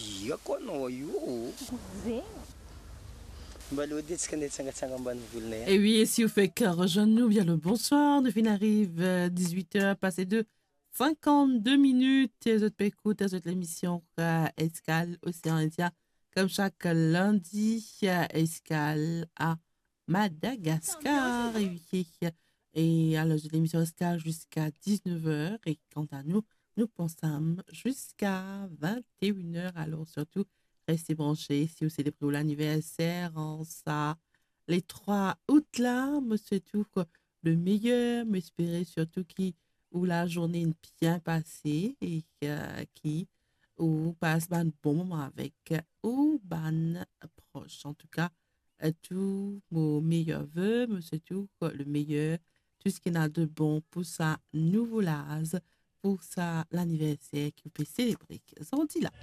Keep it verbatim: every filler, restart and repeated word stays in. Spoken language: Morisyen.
Yo kono yo. Zin. Ba lo dit kan dit sangat sangat ban voul ne. E wi, e si ou fek rezwenn nou, byen le bonswar. Nou finn ariv, euh, dix-huit heures pase de cinquante-deux minutes. E zot pe ekout, zot lemision, euh, Eskal Osean Indien. Kom sak lindi, euh, eskal a Madagaskar. E wi, e alor, zot lemision Eskal ziska dix-neuf heures. E kanta nou, nou pou ansam ziska vingt-et-une heures. Alor, sirtou, reste branche. Si ou selebre ou laniverser an sa le trwa out la, mo swet ou le meyer. Mo espere sirtou ki ou lazourne inn byen pase e, euh, ki ou pas bann bon moman avek ou bann pros. Antouka, euh, tou mo meyer ve, mo swet ou le meyer, tou seki ena de bon pou sa nouvo laz, pou sa laniverser ki ou pe selebre zordi la.